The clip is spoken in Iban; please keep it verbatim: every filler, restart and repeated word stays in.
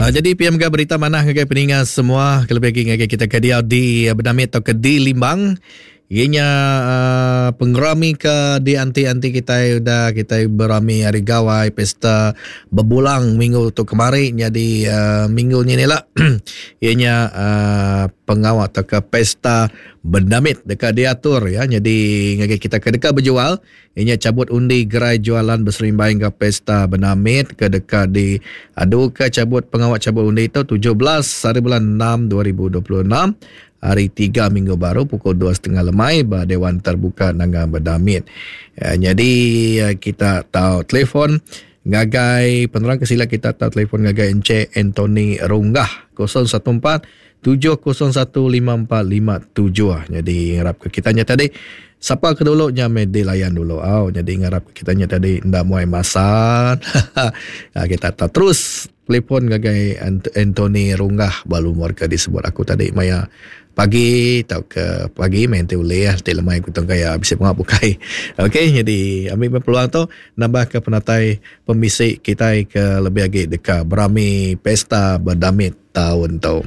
Uh, jadi P M G berita manah ngagai peninga semua, kelebih lagi ngagai kita ke dia di Benamit atau ke di Limbang. Ianya uh, pengerami ke di anti-anti kita udah kita berami hari gawai pesta berbulang minggu tu kemari jadi uh, minggu ni ni lah ianya uh, pengawal atau ke pesta Bendamit dekat diatur ya, jadi ngagai kita ke dekat berjual ianya cabut undi gerai jualan berserimbai ke pesta Bendamit ke dekat di adu ke cabut pengawal cabut undi itu tujuh belas hari bulan enam dua ribu dua puluh enam hari tiga minggu baru pukul dua setengah lemai ba Dewan Terbuka Nanga Bendamit. Ya, jadi kita tahu telefon ngagai penerang kesila kita tahu telefon ngagai Encik Anthony Runggah kosong satu empat tujuh kosong satu lima empat lima tujuh. Jadi ngarap ke kitanya tadi siapa ke dulu nya meh dilayan dulu. Oh, jadi ngarap ke kitanya tadi ndak muai masa. Kita tahu terus telefon ngagai Anthony Runggah balu warga disebut aku tadi maya pagi atau ke pagi main te ulih te lemai ku tong kaya bisa pengap bukai. Okey, jadi ambil peluang tu nambah ke penatai pemisi kita ke lebih lagi dekat berami pesta Bendamit tahun tu.